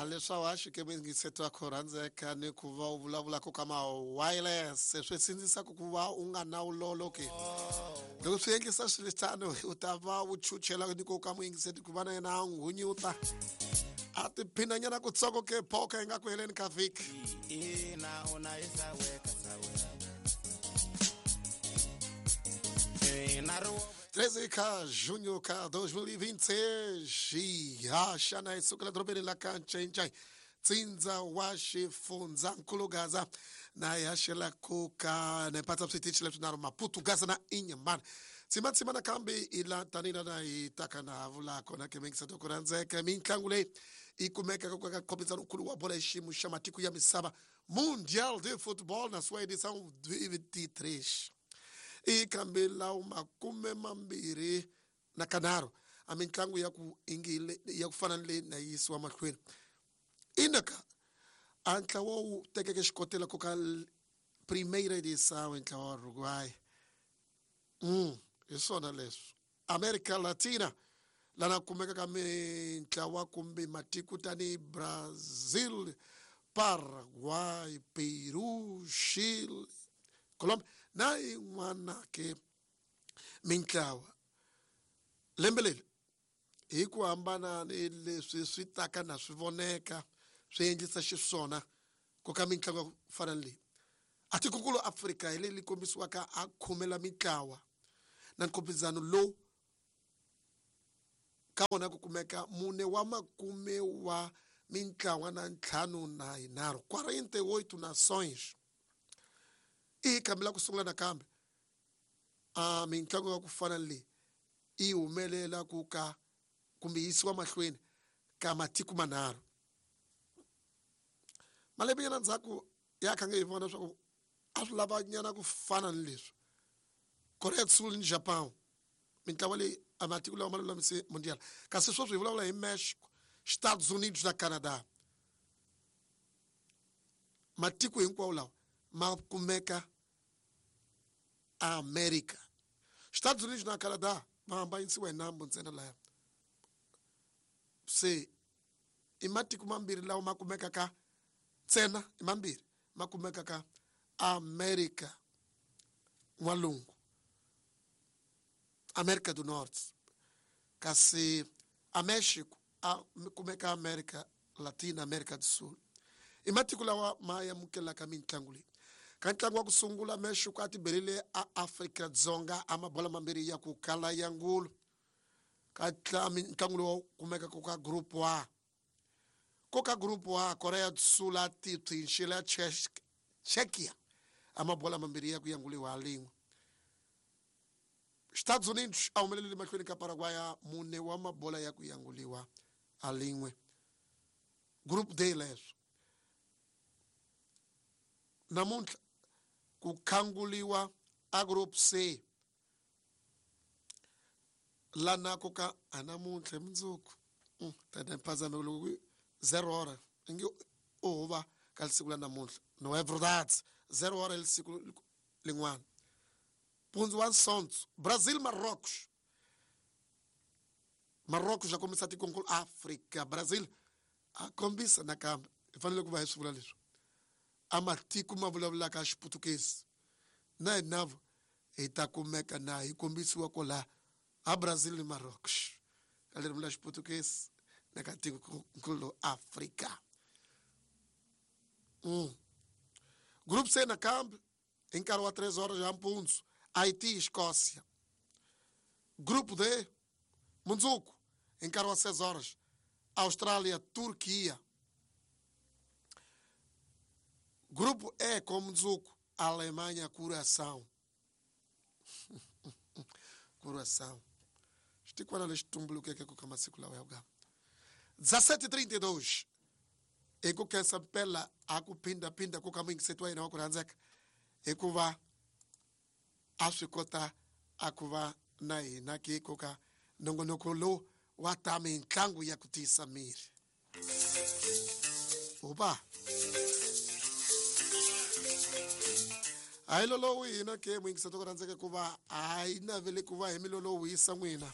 A leswaku a Xikwembu yingiseto wa ku rhandzeka ni ku va u vulavulaka ka ma-wireless swi sindzisaka ku va u nga na vulolo ke loko swi endlisa swiritano u ta va u chuchela ni ku ka muyingiseti ku va na yena a n'wi hunyuta a tiphinanyana kutsongo ke phoka yi nga ku heleni ka vhiki. Ina una isaweka sawe. Ina ri 13 ka junho ka 2026 ha xana hi sukela dorobeni la ka Ncencai, tsindza wa xifundzankulu Gaza, na hi haxela ku ka nepatsa switichi leswinharhu, Maputo, Gaza na Inhambane. Tsimatsima nakambe i la tanihi lana hi taka na ha vula kona ke mingisato ku rhandzeka mitlangu leyi yi kumekaka ka nkhometsano nkulu wa bola hi xiyimo xa matiko ya misava, Mundial de Football, na sua edição 23 i kambe lawo 25 a mitlangu ya ku ingi ya ku fana ni leyi na yisiwa mahlweni. Inaka a ntlawa wu tekeke xikotela ku ka Primeira Edição, ntlawa wa Uruguay. Hi swona leswi America Latina lana kumeka ka mintlawa kumbe matiko tanihi Brazil, Paraguay, Peru, Chile, Colombia na yin'wana ke mintlawa. Lembe leri hi ku hambana ni leswi swi taka na swi voneka swi endlisa xiswona ku ka mitlangu ya ku fana ni leyi a tikokulu Afrika hi leyi kombisiwaka a khomela mitlawa na nkhopizano lowu ka wona ku kumeka mune wa makume wa mintlawa na ntlhanu na yinharhu, 48 nações. I kambela ku sungula nakambe a mitlangu ya ku fana ni leyi yi humelela ku ka kumbe yisiwa mahlweni ka matiko manharhu. Malembe nyana ndzhaku ya kha nge hi vona leswaku a swi lava nyana ku fana ni leswi Korea Sul ni Japan, mintlawa leyi a matiko lawa ma lulamise mundial, kasi sweswi hi vulavula hi Mexico, Estados Unidos na Canada. Matiko hinkwawo lawa ma kumeka America. Estados Unidos na Canada va hambanyisiwa hi nambu ntsena laya, se i matiko mambirhi lawa ma kumekaka ntsena, i mambirhi ma kumekaka America N'walungu, America do Norte, kasi a Mexico a kumeka America Latina, America do Sul. I matiko lawa ma amukelaka mitlangu leyi. Ka ntlangu wa ku sungula, Mexico a tiberile a Afrika Dzonga a mabola mambirhi ya ku kala ya ngulu ka ntlangu lowu kumekaka ka Group A. Ko ka Group A, Korea do Sul a tipsinxile Czechia a mabola mambirhi ya ku yanguliwa ha lin'we. Estados Unidos a humelelile mahlweni ka Paraguay mune wa mabola ya ku yanguliwa ha lin'we. Group D leswo. Namuntlha ku khanguliwa a Group C lana ku ka a namuntlha hi mundzuku tata phazame loko 0 hora ingi u huva ka siku la namuntlha. No é verdade, 0 hora hi siku lin'wana mpundzu wa nsondzo, Brazil, Marrocos. Marrocos a kombisa tikonkulu Africa, Brazil a kombisa nakambe. Hi fanele ku va hi swi vula leswi a matiko ma vulavulaka Xiputukezi na hinavo hi ta kumeka na hi kombisiwa kwala a Brazil ni Marrocos ka ririmi la Xiputukezi na ka tikonkulu Africa. Group C nakambe hi nkarhi wa 3 horas ya mpundzu, Haiti, Escócia. Grupo D, mundzuku hi nkarhi wa 6 horas, Austrália, Turquia. Grupo E com mundzuku, Alemanha, Curaçao. Curaçao xitikwana lexi tumbulukeke ku ka masiku lawa ya ku 17:32. Hi ku khensa mpela a ku phindaphinda ku ka muyingiseti wa hina wa ku rhandzeka hikuva a swi kota a ku va na hina ke ku ka nongonoko lowu wa ta mitlangu ya ku tiyisa miri uba hayi lolowu hina ke muyingiseti wa ku rhandzeka ku va a yi navele ku va hi milolowu yisa n'wina.